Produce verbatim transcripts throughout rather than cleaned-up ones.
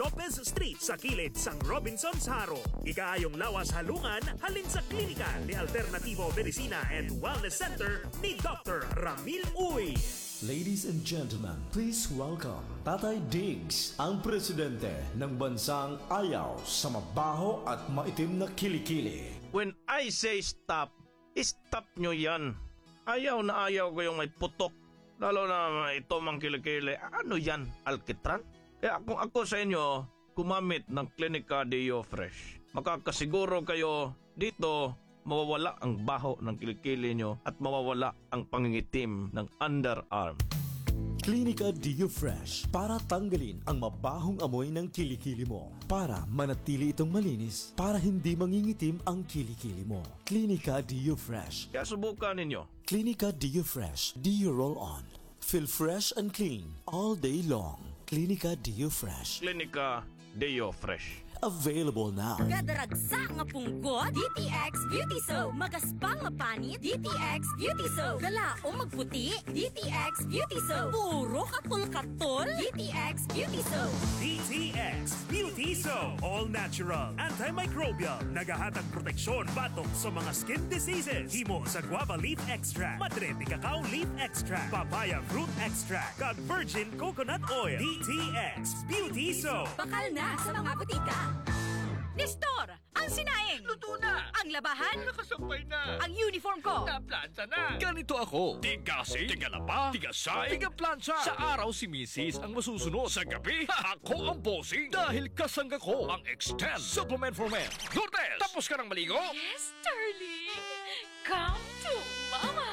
Lopez Street sa kilid sang Robinsons Jaro. Ikaayong lawas halungan halin sa klinika ni Alternativo Medicina and Wellness Center ni Doctor Ramil Uy. Ladies and gentlemen, please welcome Tatay Diggs, ang presidente ng bansang ayaw sa mabaho at maitim na kilikili. When I say stop, stop nyo yan. Ayaw na ayaw ko yung may putok. Lalo na ito mang kilikili. Ano yan? Alkitran? Kaya kung ako sa inyo, gumamit ng Clinica Deo Fresh. Makakasiguro kayo dito mawawala ang baho ng kilikili nyo at mawawala ang pangingitim ng underarm. Clinica Deo Fresh para tanggalin ang mabahong amoy ng kilikili mo. Para manatili itong malinis, para hindi mangingitim ang kilikili mo. Clinica Deo Fresh. Kaya subukan ninyo. Clinica Deo Fresh Deo Roll On. Feel fresh and clean all day long. Clinica Deo Fresh. Clinica Deo Fresh. Available now. Kadaragsa nga punggot, D T X Beauty Soap. Magaspang nga panit, D T X Beauty Soap. Kalaom magputi, D T X Beauty Soap. Puro katol-katol, D T X Beauty Soap. D T X Beauty Soap. All natural, antimicrobial. Nagahatag proteksyon batok sa mga skin diseases. Himo sa guava leaf extract, madre de cacao leaf extract, papaya fruit extract, kag virgin coconut oil. D T X Beauty Soap. Bakal na sa mga butika. Nestor, ang sinaing. Luto na. Ang labahan. Nakasampay na. Ang uniform ko. Naplansa na. Ganito ako. Tiga-asin, tiga-laba, tiga-side, tiga-plansa. Sa araw si misis ang masusunod. Sa gabi, ako ang bossing. Dahil kasangga ko ang Extend Supplement for Men. Lourdes, tapos ka nang maligo? Yes, darling. Come to Mama.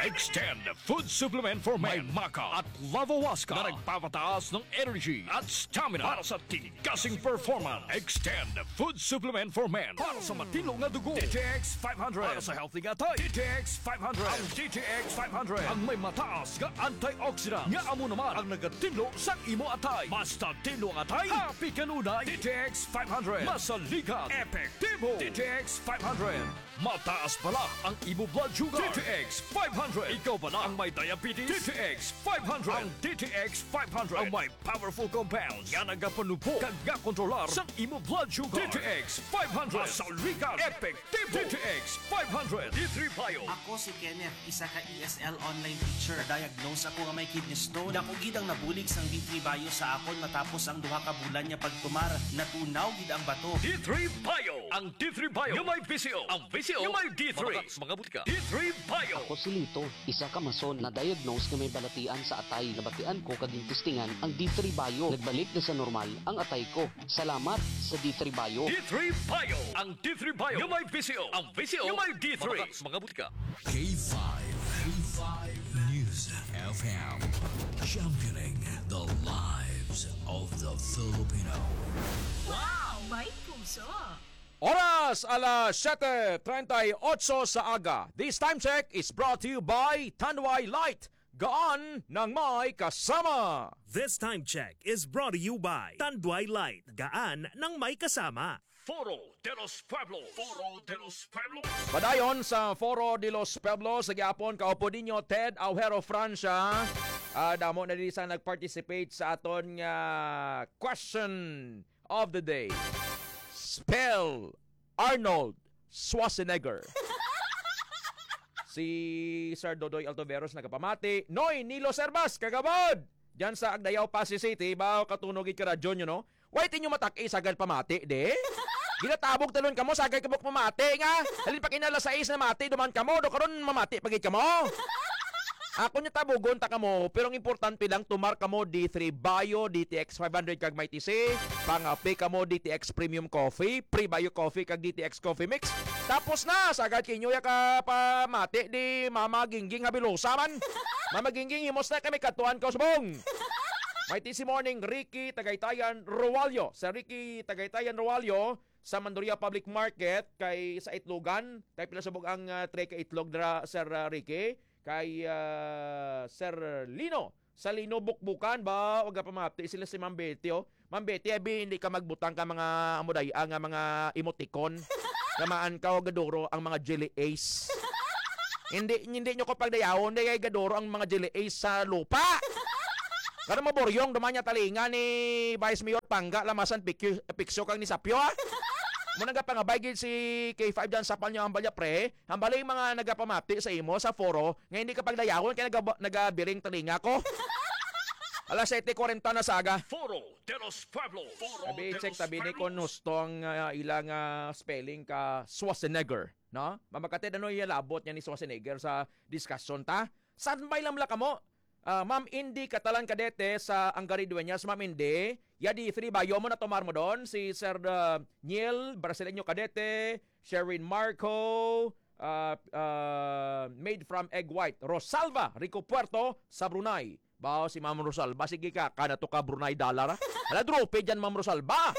Extend Food Supplement for Men. May maca at lavawaska na nagpapataas ng energy at stamina para sa tigasing performance. Extend Food Supplement for Men para sa matinlo nga dugo. D T X five hundred para sa healthy nga atay. D T X five hundred. Ang D T X five hundred ang may mataas nga antioxidant nga amo naman ang nagatinlo sang imo atay. Basta tinlo ang atay, happy kanunay. D T X five hundred. Masaligan. Epektibo. D T X five hundred. Mataas bala ang imo blood sugar. D T X five hundred. Ikaw bala ang may diabetes? D T X five hundred. Ang D T X five hundred ang may powerful compounds nga nagapanubo kag gakontrolar sang imo blood sugar. D T X five hundred. Masaligan. Epektibo. D T X five hundred. D three Bio. Ako si Kenneth, isa ka E S L online teacher. Diagnose ako nga may kidney stone. Dako gid ang nabulig sang D three Bio sa akon matapos ang duha ka bulan nga pagtumar. Natunaw gid ang bato. D three Bio. Ang D three Bio nga may V C O. Ang V C O nga may D three. Mabakal sa mga butika. D three Bio. Ako si Lito, isa ka mason na diagnose nga may balatian sa atay. Nabatian ko kag testingan ang D three Bio. Nagbalik na sa normal ang atay ko. Salamat sa D three Bio. D three Bio. Ang D three Bio nga may V C O. Ang V C O nga may D three. Mabakal sa mga butika. K five, K five News F M, championing the lives of the Filipino. Wow! May puso! Oras, alas siyete treinta y ocho sa aga. This time check is brought to you by Tanduay Light. Gaan ng may kasama. This time check is brought to you by Tanduay Light. Gaan ng may kasama. Foro de los Pueblos. Foro de los Pueblos. Padayon sa Foro de los Pueblos sa gihapon, kaupo ninyo Ted Aujero Francia. Ah, damo na diri sa nag-participate sa aton nga question of the day. Spell Arnold Schwarzenegger. Si Sir Dodoy Altoveros nagapamati. Noy Nilo Servas, kagabod! Diyan sa Agdayao, Passi City, ba, katunog gid ka radyo nyo, no? Why tinyo matak-i sagad pamati, di? Ginatabog talon kamo, sagad kamo pamati nga. Halin pa kinala sa is na mati, duman kamo, do karon mamati pa gid kamo. Ako niya tabugon ta kamo, pero ang importante lang, tumar kamo D three Bio, D T X five hundred kag Mighty C, pangape kamo D T X Premium Coffee, Pre-Bio Coffee kag D T X Coffee Mix. Tapos na, sagad kinyo ya ka pamati di Mama Gingging Habilosa man. Mama Gingging, himos na kami katuan ka subong. Mighty C Morning, Ricky Tagaytayan Roallo. Sa Ricky Tagaytayan Roallo, sa Manduria Public Market, kay sa Itlogan, kay pila subong ang, ah, tray ka itlog dira, Sir, ah, Ricky? Kay, ah, Sir Lino. Sa Lino Bukbukan ba? Wag ka pamati sila si Ma'am Betty, oh. Ma'am Betty, abi, hindi ka magbutang ka mga amuday, ah, nga mga emoticon. Gamaan ka, oh, gaduro ang mga jelly ace. Hindi, hindi nyo ko pagdayawon, di kay gaduro ang mga jelly ace sa lupa. Kada maburyong duman niya talinga ni Vice Mayor Pangga, lamasan pikyo, piksyo kang ni Sapyo, ha? Mo nagapangabay gid si K five dyan sa palyo, hambal niya, pre. Hambal yung mga nagapamati sa imo sa foro nga hindi ka pagdayawon kay nagaba-, nagabiring talinga ko. Alas siyete kwarenta na sa aga. Foro de los Pueblos. Foro Abi, de check los tabi ni Pueblos. Kung husto ang, ah, ilang, ah, spelling ka Schwarzenegger, no? Mamakatid ano yung labot niya ni Schwarzenegger sa discussion ta? Standby lang mula kamo. Ah, Ma'am Indy Catalan Cadete sa Angari Dueñas, Ma'am Indy. Yadi three ba? Yo mo na tomar mo doon. Si Sir, ah, Niel Brasileño Cadete, Sherwin Marco, ah, ah, made from egg white. Rosalva Rico Puerto sa Brunei. Bao si Ma'am Rosalva, sige ka, kana to ka Brunei dollar, ah. Ala, drope dyan, Ma'am Rosalva.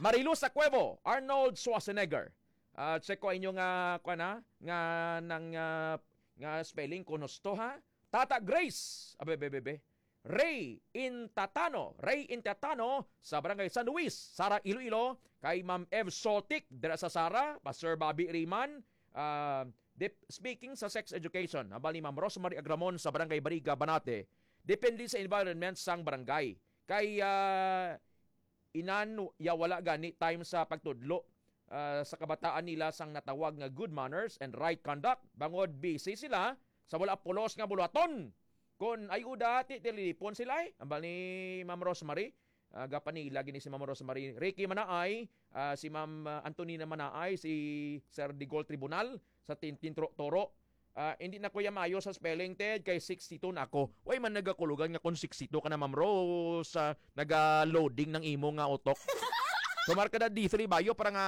Marilu Sacuevo, Arnold Schwarzenegger. Ah, check ko inyo nga, kuwan, ha? Nga, nang, ah, nga spelling ko nusto, ha? Tata Grace. Abe, be, be, be. Ray Intatano, Ray Intatano sa Barangay San Luis, Sara, Iloilo, kay Ma'am Ev Sotik dira sa Sara, Pastor Bobby Riman, ah, dep-, speaking sa sex education, hambal ni Ma'am Rosemary Agramon sa Barangay Bariga, Banate, depende sa environment sang barangay. Kay, ah, inan ya wala gani time sa pagtudlo, ah, sa kabataan nila sang natawag nga good manners and right conduct, bangod busy sila sa wala pulos nga buluhaton. Kon ay uda, ti tililipon sila, eh. Ambal ni Ma'am Rosemary, ah, gapanila gini si Ma'am Rosemary. Ricky Manaay, ah, si Ma'am, ah, Antonina Manaay, si Sir Digol Tribunal sa Tintin Tro-, Toro. Ah, hindi na ko ya maayo sa spelling, Ted, kay sixty-two na ako. Way man nagakulugan nga kung sixty-two ka na, Ma'am Rose, ah, naga-loading ng imo nga utok. Tumar ka na D three bayo para nga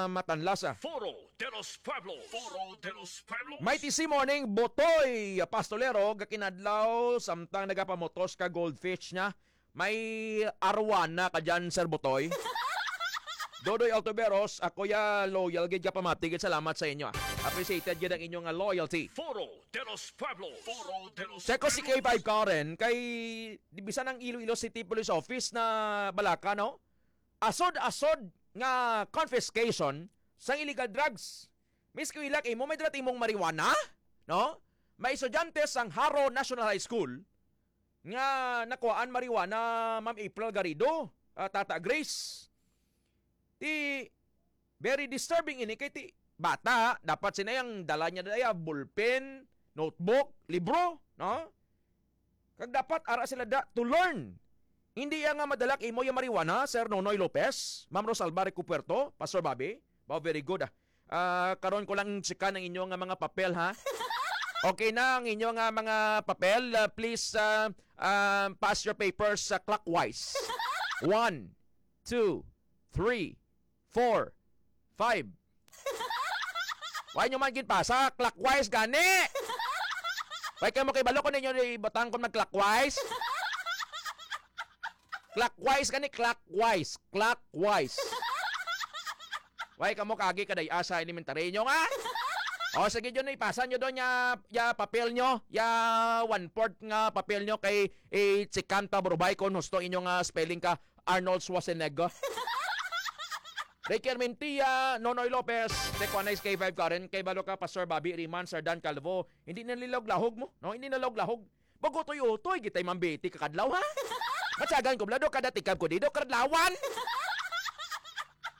matanlas, ah. Foro de los Pueblos. Foro de los Pueblos. Mighty C morning, Botoy Pastolero, gakinadlaw, samtang nagapamotos ka goldfish niya. May arwana ka dyan, Sir Botoy. Dodoy Altuberos, ako ya loyal gid ka pamati gid. Salamat sa inyo, ah. Appreciated gid ang inyong, ah, loyalty. Foro de los Pueblos. Foro de los Check ko si Pueblos. K five Karen kay di bisan ang Iloilo City Police Office na balaka, no? Asod-asod nga confiscation sang illegal drugs. Miss Kuilak, imo may dala imong marijuana, no? May estudyante sang Jaro National High School nga nakuhaan marijuana, Ma'am April Garrido, ah, Tata Grace. Ti, very disturbing ini kay ti bata, dapat sina yang dala niya daya, ballpen, notebook, libro, no? Kag dapat ara sila da to learn. Hindi ya nga madalak imo yung marijuana, Sir Nonoy Lopez, Ma'am Rosalba Rico Puerto, Pastor Bobby. Wow, very good, ah. Ah, karon ko lang chika ang inyo nga mga papel, ha? Okay na ang inyo nga mga papel. Ah, please, ah, ah, pass your papers, ah, clockwise. One, two, three, four, five. Why nyo man ginpasa? Clockwise gani! Why kayo mo kay balo kung ninyo ibutang kung mag-clockwise? Clockwise gani, clockwise. Clockwise. Why kamo kagi kaday asa elementary nyo nga? O sige, yun, ipasa nyo doon ya, ya papel nyo, ya one-fourth nga papel nyo kay, eh, si Kanta Burubay kung husto inyo nga spelling ka Arnold Schwarzenegger. Ricky Armentia, Nonoy Lopez, Tequanay K five Karen, kay balo ka Pastor Bobby Riman, Sir Dan Calvo, hindi na nilawag-lahog mo, no? Hindi na lawag-lahog. Bago utoy-utoy, gitay mambiti kakadlaw, ha? Matsagan ko, blado, kada tikab ko, dido, kadlawan.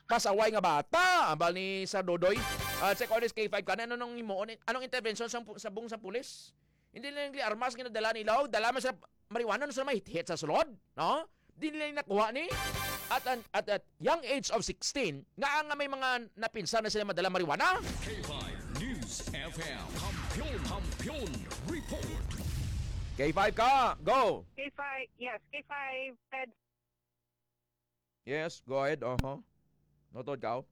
Pasaway nga bata, ambal ni Sir Dodoy. Ah, check on this K five ka na, ano nung himuon, anong intervention sa, sa bung sa pulis? Hindi lang yung armas nga nadala nila, oh, dala man sa marijuana, no, sa may hit sa sulod, no? Di nila yung nakuha ni. At, an- at, at young age of sixteen, nga nga may mga napinsan na sila madala marijuana. K five News F M. Kampiyon, Kampiyon Report. K five ka, go! K five, yes, K five, Ted. Yes, go ahead, uh-huh. Notod ka, oh.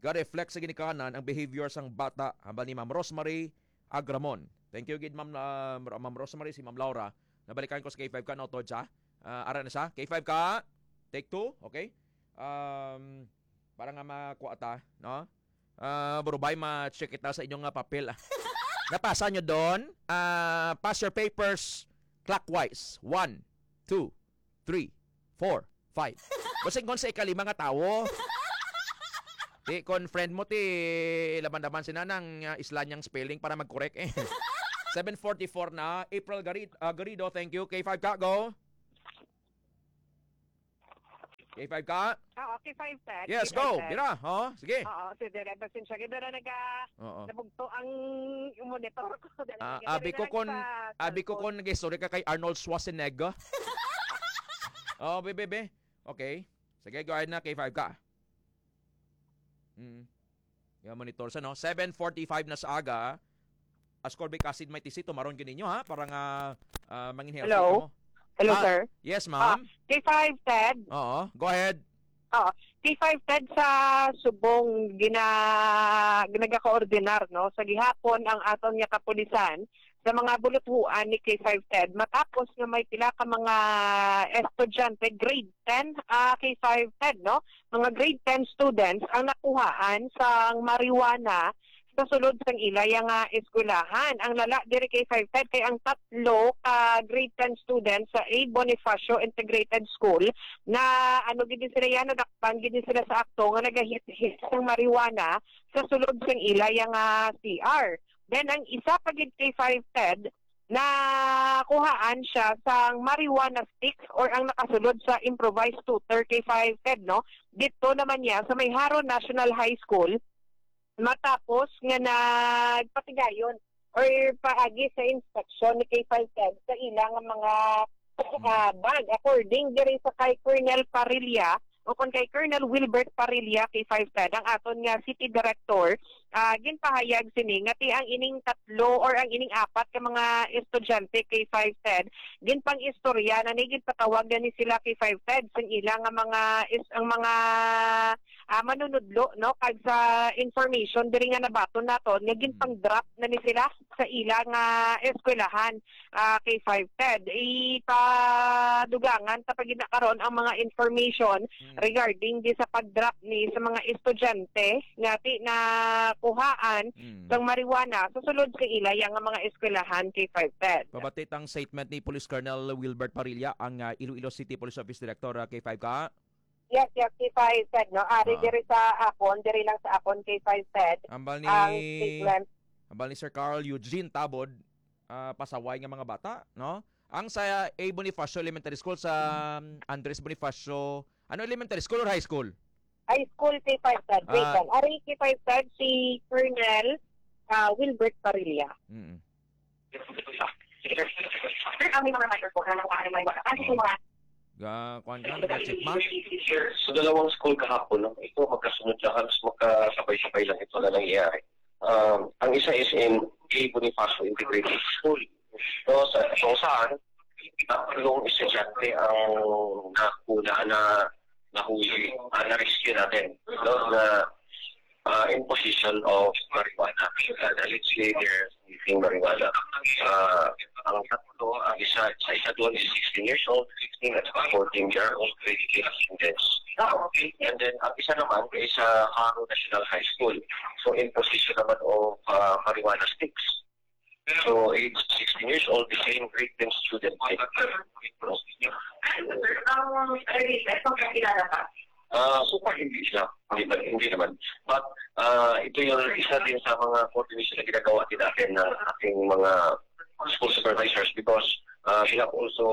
Ga-reflect sa ginikanan ang behavior sang bata, hambal ni Ma'am Rosemary Agramon. Thank you gid, Ma'am, uh, Ma'am Rosemary, si Ma'am Laura. Nabalikan ko sa K five ka, notod siya. Ah, ara na siya. K five ka, take two, okay? Um, para nga makuha ta, no? Ah, Burubay, ma-check kita sa inyong nga papel, ah. Napasa nyo doon? Ah, pass your papers clockwise. One, two, three, four, five. Basig kon sa ikalima nga tawo. Ti, kon friend mo, ti, laban-laban sina nang, ah, isla niyang spelling para mag-correct, eh. Seven forty-four na. April Gari-, ah, Garrido, thank you. K five ka, go. K five ka? Oo, K five Ted, Yes, K five go. Ted. Dira, oh, sige. Oo, si Dere, pasensya ka, Dere, naga-, Oo. nabugto ang monitor ko. Dere, Ah, naga-, abi ko dere kon, sa abi ko cellphone. Kon nag-istorya ka kay Arnold Schwarzenegger. Oh, be, be, be. Okay. Sige, go ahead na, K five ka. Mm. Yung monitor sa, no? Seven forty-five na sa aga. Ascol Bay, Casid, Maitisi, tumaron gid ninyo, ha? Para nga, ah, manginhiyas Hello? kamo. Hello, Ah, sir. yes, Ah, ma'am. K five, Ted. Oo, go ahead. Oo. K five, Ted, sa subong gina-, nagakoordinar, no? Sa gihapon, ang aton nga kapulisan sa mga buluthuan ni K five, Ted, matapos nga may pila ka mga estudyante, grade ten, ah, K five, Ted, no? Mga grade ten students ang nakuhaan sang marijuana sa sulod sang ila nga eskwelahan. Ang lala diri, K five, Ted, kay ang tatlo ka grade ten students sa A Bonifacio Integrated School na, ano gid sila yan, nadakpan gid sila sa akto nga nagahit-hit sang marijuana sa sulod sang ila nga C R. Then ang isa pa gid, K five, Ted, nakuhaan siya sang marijuana sticks or ang nakasulod sa improvised tutor, K five, Ted, no? Dito naman niya sa may Jaro National High School, matapos nga nagpatigayon or paagi sa inspection ni K five, Ted, sa ila nga mga, ah, bag. According diri sa kay Colonel Parilla, o kon kay Colonel Wilbert Parilla, K five, Ted, ang aton nga city director, ah, ginpahayag sini nga ti ang ining tatlo or ang ining apat ka mga estudyante, K five, Ted, ginpang-istorya na ni, ginpatawag na ni sila, K five, Ted, sa ila nga mga is-, ang mga, ah, manunudlo, no, kag sa information diri nga nabaton naton nga Mm. ginpang-drop na ni sila sa ila nga eskwelahan, ah, K five, Ted. Ipadugangan ta pa gid na karon ang mga information Mm. regarding di sa pag-drop ni sa mga estudyante nga ti nakuhaan Mm. sang marijuana sa sulod sa ila nga mga eskwelahan, K five, Ted. Pabati tang statement ni Police Colonel Wilbert Parilla, ang, ah, Iloilo City Police Office Director, ah, K five ka? Yes, yes, K five, Ted, no? Ari Ah. diri sa akon, diri lang sa akon, K five, Ted, Ambal ni, ang statement. ambal ni Sir Carl Eugene Tabod, ah, pasaway nga mga bata, no? Ang sa A Bonifacio Elementary School, sa, um, Andres Bonifacio, ano, elementary school or high school? High school, K five, Ted. Wait Ah. lang. Ari, K five, Ted, si Colonel, ah, Wilbert Parilla. Mm. Sir, kami mga microphone, ano kung ano may wala? Kasi Oh. kung mga Ga-, kuwan ka, ga-check ma? Sa dalawang school kahapon, no? Ito, magkasunod lang, halos magkasabay-sabay lang ito na nangyayari. Um, ang isa is in A Bonifacio Integrated School. So, sa, kung saan, tatlong estudyante ang nakuna na nahuli, ah, na-rescue natin, no? Na, ah, in possession of marijuana. Uh, allegedly, they're sniffing marijuana. Ah, ang tatlo, ang isa, sa isa doon is sixteen years old, fifteen at fourteen year old, twenty-three students. And then, ang isa naman ay sa Jaro National High School. So, in possession naman of, ah, marijuana sticks. So, age sixteen years old, the same grade ten student. Ano, sir, ang, ano, sir, ang kakilala pa? Ah, so far, hindi siya. Hindi, hindi naman. But, ah, ito yung isa din sa mga coordination na ginagawa din natin na ating mga school supervisors because, ah, we have also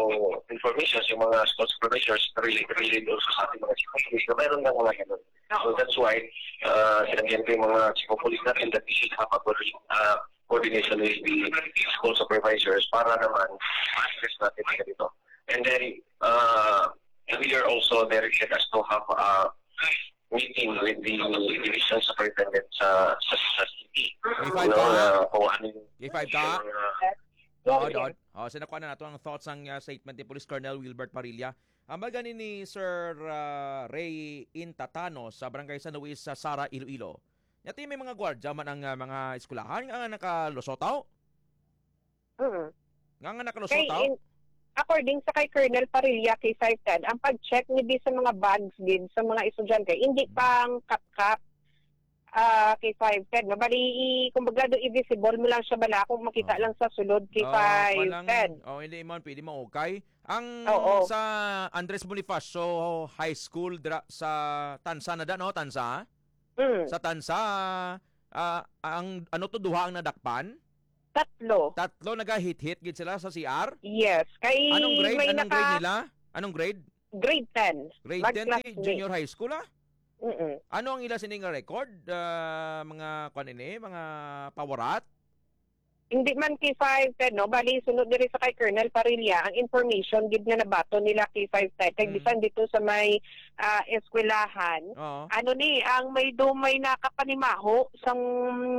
information sa mga school supervisors related, related also sa ating mga chief of police na mayroon ng mga ganun. So that's why, ah, sinabihan ko yung mga chief of police natin that we should have a coordi-, ah, coordination with the school supervisors para naman ma-address natin ang ganito. And then, uh, we are also very glad as to have a meeting with the division superintendent sa, sa, sa city. K five No, ka? na kung ano yung K five ka? Oo, Yes, Dod. Oh, sinakuha na nato ang thoughts ang, uh, statement ni Police Colonel Wilbert Parilla. Ang gani ni Sir, uh, Ray Intatano sa Barangay San Luis sa Sara, Iloilo. Nya ti may mga gwardya man ang, uh, mga eskwelahan nga nakalusot, aw? Mm. Nga, nga nakalusot, Kay aw? in-, according sa kay Colonel Parilla, K five, Ted, ang pag-check ni di sa mga bags gid sa mga estudyante, hindi Mm. pang kapkap, ah, K five, Ted, no? Bali, i-, kumbaga, do i-visible mo lang siya bala kung makita Oo. lang sa sulod, K five, Oo, walang, Ted. Oh, hindi man, pwede maukay. Ang Oo. sa Andres Bonifacio High School, dra-, sa Tansa na da, no? Tansa? Mm. Sa Tansa, ah, ang, ano to, duha ang nadakpan? Tatlo. Tatlo, nagahit-hit gid sila sa C R? Yes. Kay Anong grade? may Anong grade naka- nila? Anong grade? Grade ten. Grade ten, di junior high school, ah? Mm-mm. Ano ang ila sini nga record? Ah, mga, kuwan ini, mga pawarat? Hindi man K five ten, no? Bali, sunod diri sa kay Colonel Parilla, ang information gid nga nabaton nila K five ten. Kay Mm. bisan dito sa may, ah, eskwelahan, Oo. ano ni, ang may do may nakapanimaho sang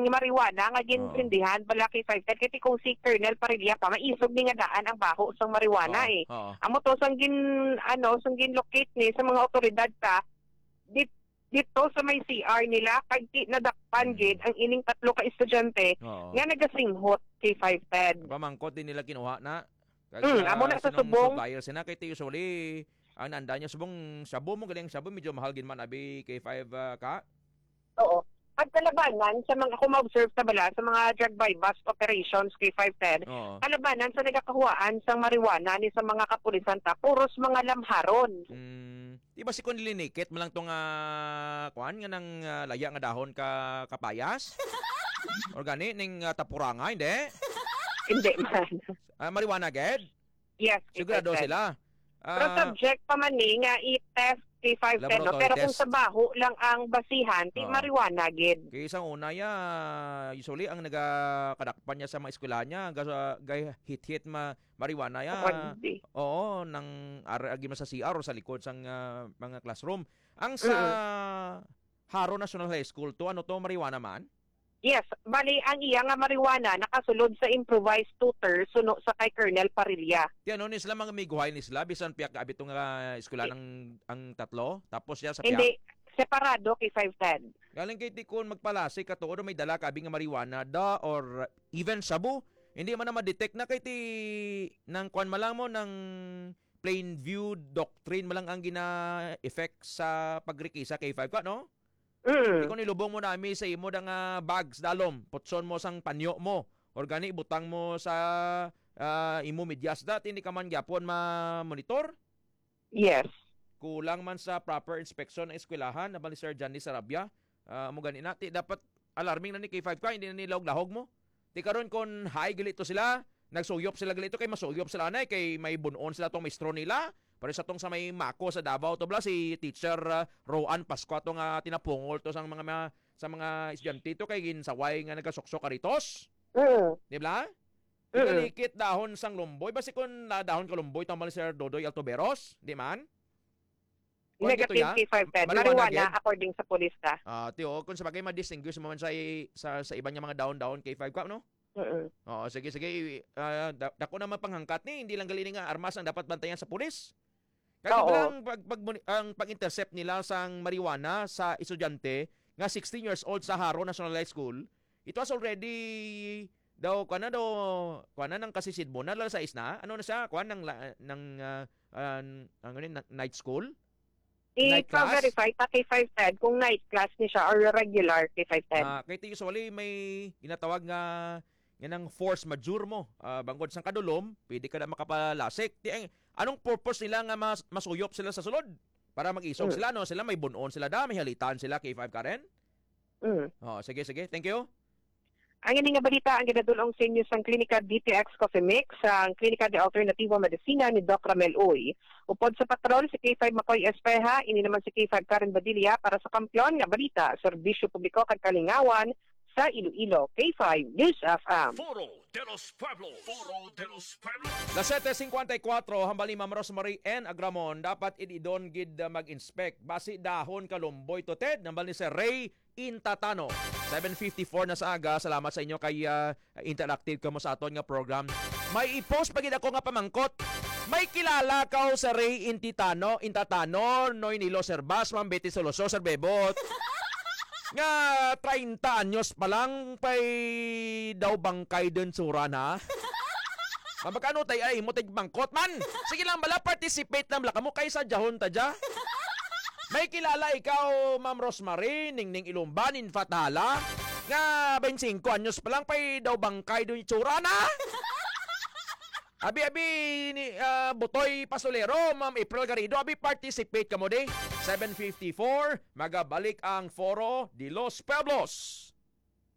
marijuana nga Oo. ginprindihan bala K five ten. Kay kung si Colonel Parilla pa, maisog ni nga daan ang baho sang marijuana, Oo, eh. oo. Amo to, sang gin-, ano, sang gin-locate ni sa mga awtoridad ta, di-, dito sa may C R nila, kag ti-, nadakpan Mm. gid ang ining tatlo ka estudyante Oo. nga nagasinghot kay five ten. Pamangkot din nila kinuha na. Kag, Mm, amo ah, na sa sinong subong. Supplier sina kay ti usually, ang nanda niya subong shabu mo, galing shabu, medyo mahal gid man abi kay five, ah, ka? Oo. Pagkalabanan sa mga, kung ma-observe na bala, sa mga drug buy-bust operations kay five ten, Oo. kalabanan sa nagakahuwaan sang marijuana ni sa mga kapulisan ta, puros mga lamharon. Mm. Di ba si Conlinikit man lang tong, ah, kuan nga nang, ah, laya nga dahon ka kapayas? Or gani ning, ah, tapuranga, hindi? Hindi man. Ah, marijuana gid? Yes, Sigurado K five ten. sila. Pero Ah, subject pa man ni nga i-test K five ten, no? Laboratory Pero kung test. sa baho lang ang basihan, di Oo. marijuana gid. Kay sa una ya, usually ang nagakadakpan niya sa mga eskwelahan niya, ga-, gay hit-hit ma-, marijuana ya. Kundi. Oo, nang ar-, agi man sa C R o sa likod sang, ah, mga classroom. Ang sa Mm. Jaro National High School to, ano to, marijuana man? Yes, bali ang iya nga marijuana nakasulod sa improvised tutor suno sa kay Colonel Parilla. Ti ano ni sila, mga amiguhay ni sila, bisan piyak ka abito nga eskwela Di- ng ang tatlo, tapos siya sa piyak? Hindi, separado kay five ten. Galing kay ti kun magpalasik ka tuod may dala ka abi nga marijuana da or even shabu, hindi man na ma-detect na kay ti nang kwan man lang mo, nang plain view doctrine man lang ang gina-effect sa pagrikisa kay five ka, no? Mm. Ikaw nilubong mo nami sa imo da nga bags dalom, putson mo sang panyo mo, or gani butang mo sa, ah, imo medyas da, hindi ka man gyapon ma-monitor? Yes. Kulang man sa proper inspection ang eskwelahan, nabal ni Sir Johnny Sarabia. Ah, amo gani na, ti dapat alarming na ni K five ka, hindi na nilahog-lahog mo. Ti karon kon high gali to sila, nagsuyop sila gali to, kay masuyop sila anay, kay may bunon sila tong maestro nila. Pero sa tong sa may Mako sa Davao to bala, si Teacher, ah, Roan Pascua to nga tinapungol to sang mga, mga, sa mga estudyante to, kay ginsaway nga nagasuksok karitos. Mm. Di ba? Mm. Ikalikit dahon sang lumboy. Basi kon na dahon ka lumboy, tama ni Sir Dodoy Altuberos? Di man? Kuwan gito Negative ya? K five ten. Marijuana Marijuana, gid? According sa pulis ta. Ah, ti, oh, kung sa bagay, ma-distinguish mo man sa i-, sa, sa iban nga mga dahon-dahon K five ka, no? Mm-mm. Oo, sige, sige. I-, ah, da-, dako naman panghangkat ni, hindi lang gali ni nga armas ang dapat bantayan sa pulis. Kaya Oo. Lang pag, pag, ang pag-intercept nila sang marijuana sa estudyante nga sixteen years old sa Jaro National High School, it was already daw, kuwan na daw, kuwan na nang kasisidmo na, alas sais na. Ano na siya? Kuwan nang la-, nang, ah, ah, ang, ano yun, na-, night school? Night class? I-verify pa kay five ten kung night class ni siya or regular kay five ten. Ah, kay ti usually may ginatawag nga, nga nang force majeure mo. Ah, bangod sang kadulom, pwede ka na makapalasik. Ti, ang, anong purpose nila nga mas-, masuyop sila sa sulod? Para mag-isog Mm. sila, no? Sila may bunon sila da, may halitan sila, K five Karen? Mm. Oh, sige, sige. Thank you. Ang ini nga balita ang ginadul-ong sa inyo sang Klinika D T X Coffee Mix, ang Klinika de Alternativo Medicina ni Doc Ramel Uy. Upod sa patrol si K five Makoy Espeha, ini naman si K five Karen Badilla para sa Kampiyon nga Balita, Serbisyo Publiko kag Kalingawan sa Iloilo, K five News F M. Foro de los Pueblos. Foro de los Pueblos. Las siete cincuenta y cuatro, hambal ni Ma'am Rosemary N. Agramon, dapat ididon gid, uh, mag-inspect. Basi dahon kalumboy to, Ted, hambal ni Sir Ray Intatano. Seven fifty-four na sa aga. Salamat sa inyo kay, ah, interactive kamo sa aton nga program. May i-post pa gid ako nga pamangkot. May kilala ka sa Ray Intitano, Intatano, Noy Nilo Sir Bas, Ma'am Betty Soloso, Sir Bebot? Nga treinta anyos pa lang, pay daw bangkay din sura na? Mabakano tay ay mo tig bangkot man? Sige lang bala, participate lang bala kamo kay sa jahon ta dya. May kilala ikaw, Ma'am Rosemary, Ningning Ilumban, in fact, hala, nga twenty-five anyos pa lang, pay daw bangkay doon itsura na? Abi, abi, ni, ah, Butoy Pasolero, Ma'am April Garrido, abi, participate kamo di. Seven fifty-four, magabalik ang Foro de los Pueblos.